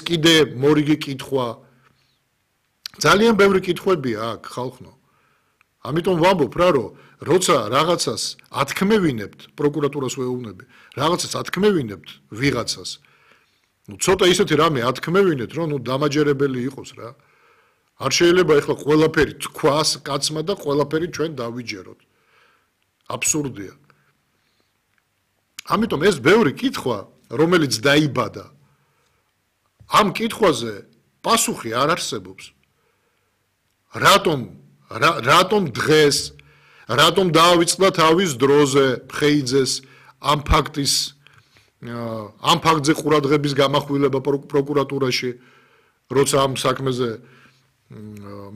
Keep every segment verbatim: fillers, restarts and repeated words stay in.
კიდე მორიგი კითხვა. ძალიან ბევრი კითხვებია აქ ხალხო. ამიტომ ვამბობ რა რომ როცა რაღაცას ათქმევინებთ, პროკურატურას ვეუბნები, რაღაცას ათქმევინებთ ვიღაცას. ნუ ცოტა ისეთი რამე ათქმევინეთ, რომ ნუ დამაჯერებელი იყოს რა. არ შეიძლება ეხლა ყველაფერი თქვას კაცმა და ყველაფერი ჩვენ დავიჯეროთ. აბსურდია. ამიტომ ეს ბევრი კითხვა, რომელიც დაიბადა, ამ კითხვაზე პასუხი არ არსებობს. რატომ რატომ დღეს, რატომ დაავიწყდა თავის დროზე ხეიძეს ამ ფაქტის ამ ფაქტზე ყურადღების გამახვილება პროკურატურაში, როცა ამ საქმეზე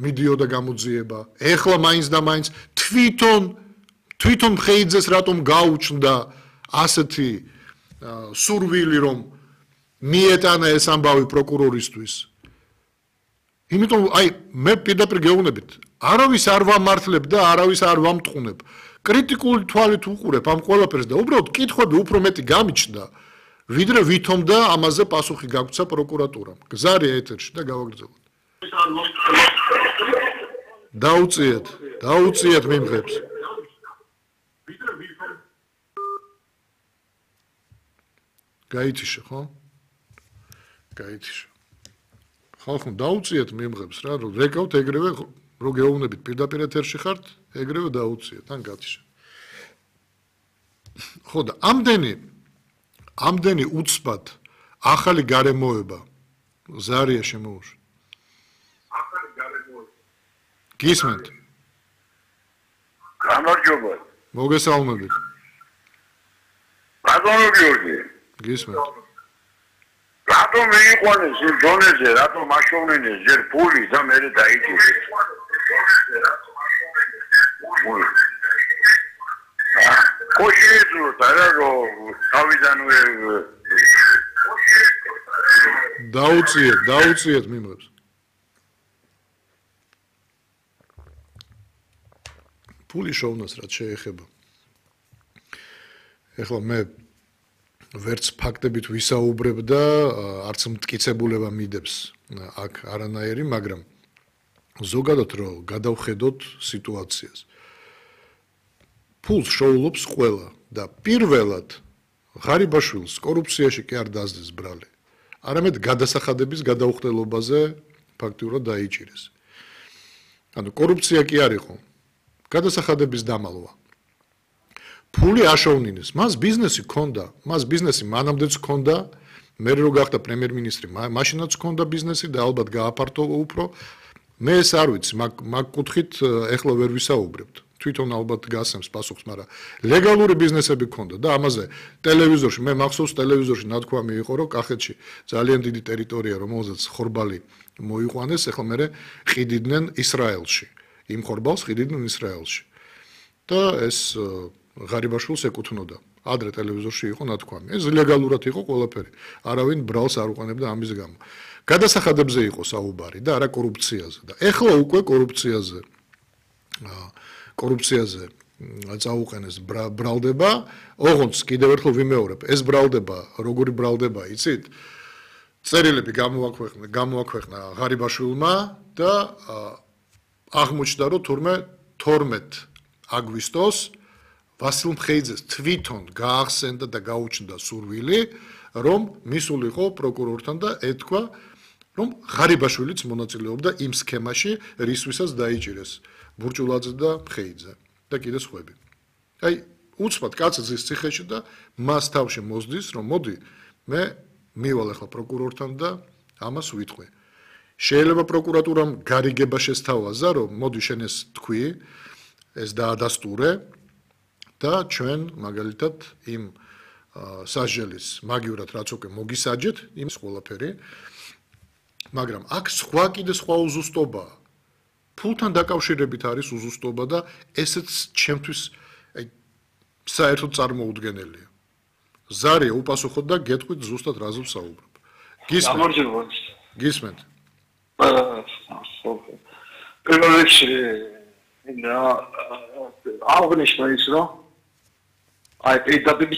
მიდიოდა გამოძიება. ეხლა მაინც და მაინც თვითონ თვითონ ხეიძეს რატომ გაუჩნდა ასეთი სურვილი, რომ მიეტანა ეს ამბავი პროკურორისთვის. იმიტომ აი მე პირდაპირ გეუბნებით, არავის არ ვამართლებ და არავის არ ვამტყუნებ. კრიტიკული თვალით უყურებ ამ ყველაფერს და უბრალოდ კითხვები უფრო მეტი გამიჩნდა, ვიდრე ვითომ და ამაზე პასუხი გაგვცა პროკურატურამ. გზარია ეთერში და გავაგრძელოთ. დაუწიეთ, დაუწიეთ მიმღებს. გაითიშა, ხო? გაითიშა. ხალხო, დაუწიეთ მიმღებს რა, რომ რეკავთ ეგრევე, რო გეუბნებით პირდაპირ ეთერში ხართ, ეგრევე დაუწიეთ, ან გათიშა. ხო და ამდენი ამდენი უცბად ახალი გარემოება ზარია შემოუშვა. ახალი გარემოება. გისმენთ? გამარჯობა. მოგესალმებით. ბატონო გიორგი. გისმენთ. რატომ მიიყვანეს იმ დონეზე, რატომ მაშოვნენეს ჯერ ფული და მერე დაიჭირეს? კოშიეძულოთ არა რომ თავიდანვე დაუწიეთ, დაუწიეთ მიმღებს. ფული შოვნას რაც შეეხება. ეხლა მე ვერც ფაქტებით ვისაუბრებ და არც მტკიცებულება მიდებს აქ არანაირი, მაგრამ ზოგადად რომ გადავხედოთ სიტუაციას. ფულს შოულობს ყველა და პირველად ღარიბაშვილს კორუფციაში კი არ დაძდეს ბრალი. არამედ გადასახადების გადაუხდელობაზე ფაქტიურად დაიჭირეს. ანუ კორუფცია კი არ იყო, გადასახადების დამალვა. ფული აშოვნინეს, მას ბიზნესი ჰქონდა, მას ბიზნესი მანამდეც ჰქონდა, მე რო გახდა პრემიერ-მინისტრი, მაშინაც ჰქონდა ბიზნესი და ალბათ გააფართოვა უფრო. მე ეს არ ვიცი, მაგ კუთხით ეხლა ვერ ვისაუბრებთ. თვითონ ალბათ გასცემს პასუხს, მაგრამ ლეგალური ბიზნესები ჰქონდა და ამაზე ტელევიზორში, მე მახსოვს ტელევიზორში ნათქვამი იყო, რომ კახეთში ძალიან დიდი ტერიტორია, რომელზეც ხორბალი მოიყვანეს, ეხლა მე ყიდიდნენ ისრაელში. იმ ხორბალს ყიდიდნენ ისრაელში. და ეს ღარიბაშვილს ეკუთვნოდა. ადრე ტელევიზორში იყო ნათქვამი. ეს ლეგალურად იყო ყველაფერი. არავინ ბრალს არ უყენებდა ამის გამო. გადასახადებზე იყო საუბარი და არა კორუფციაზე. და ეხლა უკვე კორუფციაზე კორუფციაზე წაუყენეს ბრალდება. ოღონდ კიდევ ერთხელ ვიმეორებ, ეს ბრალდება, როგორი ბრალდება, იცით? წერილები გამოაქვეყნა, გამოაქვეყნა ღარიბაშვილმა და აღმოჩნდა, რომ თურმე თორმეტ აგვისტოს ვასილ მხეიძეს თვითონ გაახსენდა და გაუჩნდა სურვილი, რომ მისულიყო პროკურორთან და ეთქვა, რომ ღარიბაშვილიც მონაწილეობდა იმ სქემაში, რისთვისაც დაიჭირეს ბურჭულაძე და მხეიძე და კიდე სხვები. აი, უცბად კაცი ზის ციხეში და მას თავში მოსდის, რომ მოდი, მე მივალ ახლა პროკურორთან და ამას ვიტყვი. შეიძლება პროკურატურამ გარიგება შესთავაზა, რომ მოდი შენ ეს თქვი, ეს დაადასტურე და ჩვენ მაგალითად იმ სასჯელის მაგივრად რაც უკვე მოგისაჯეთ, იმ ყველაფერი. მაგრამ აქ სხვა კიდე სხვა უზუსტობაა. ფულთან დაკავშირებით არის უზუსტობა და ესეც ჩემთვის აი საერთოდ წარმოუდგენელია. ზარია უპასუხოთ და გეტყვით ზუსტად რაზე ვსაუბრობ. გისმენთ? გისმენთ? პირველ რიგში აღნიშნა ის, რომ აი პირდაპირ